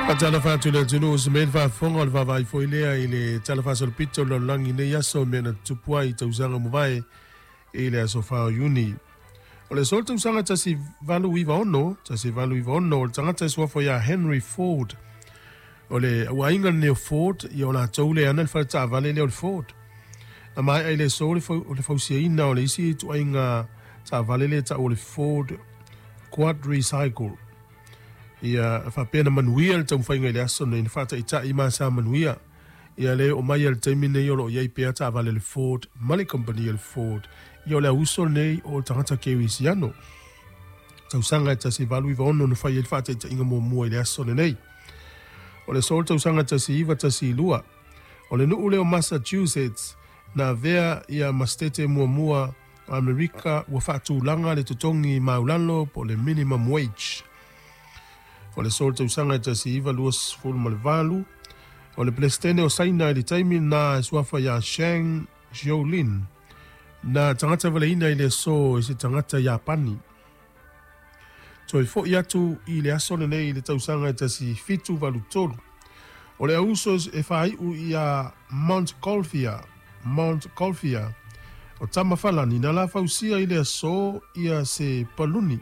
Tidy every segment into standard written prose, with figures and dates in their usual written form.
Faatalofa atu i le atunuu se mea i le faafofoga o le vaavaai foi lea i le Tala Faasolopito o le Lalolagi i nei aso i mea na tutupu ai i tausaga ua mavae i le aso 4 o Iuni. O le aso o le tausaga 1896, 1896, o le tagata e suafa ia Henry Ford. O le auaiga lenei o Ford, ia o latou lea e ana le faletaavale lea o le Ford. Na maea i le aso o le fausiaina o le isi ituaiga taavale lea e tau o le Ford Quadricycle. Ia faapea na manuia le taumafaiga i le aso nei na faataitai ma sa manuia. Ia lea e oo mai lava i le taimi nei o lo o i ai pea taavale a le Ford ma le kamupani a le Ford. Ia o le auuso lenei o tagata kerisiano. Tausaga e 1896 na fai ai le faataitaiga muamua i le aso lenei. O le aso o le tausaga 1912, o le nuu lea o Massachusetts na avea ia ma setete muamua o Amerika ua faatulaga le totogi maulalo po o le minimum wage. O le aso o le tausaga e 1928, o le Peresetene o Saina i le taimi lena e suafa ia Shang Xiaolin, na tagata valeina i le aso e se tagata Iapani. Toe foi atu i le aso lenei i le tausaga e 1783, o le auuso e faaiu ia Montgolfier, Montgolfier, o tama falani na la fausia i le aso ia se paluni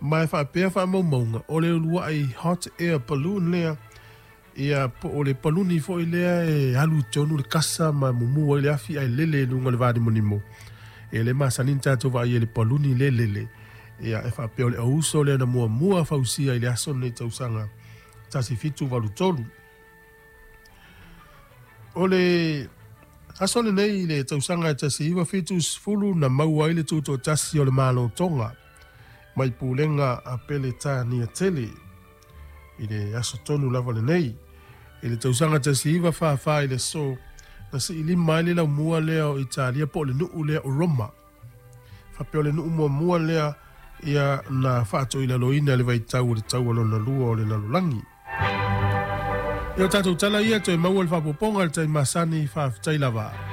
ma e faapea faamaumauga o le uluai hot air balloon lea ia po o le paluni foi lea e alu i totonu le kasa ma mumu ai le afi ae lele i luga o le vanimonimo. Ia lea e masani ona tatou vaai ai i le paluni lea e lele. Ia e faapea o le auuso lea na muamua fausia i le aso lenei tausaga 1783. O le aso lenei i le tausaga e 1970 na maua ai le tutoatasi o le Malo Tonga mai pulega a Peretania tele. I le aso tonu lava lenei, i le tausaga 1944 i le aso, na siilima ai le laumua lea o Italia po o le nuu lea o Roma. Faapea o le nuu muamua lea ia na faatoilaloina i le vaitau o le Taua Lona Lua o le Lalolagi. Ia o tatou tala ia toe maua le faaopoopoga i le taimi masani, faafetai lava.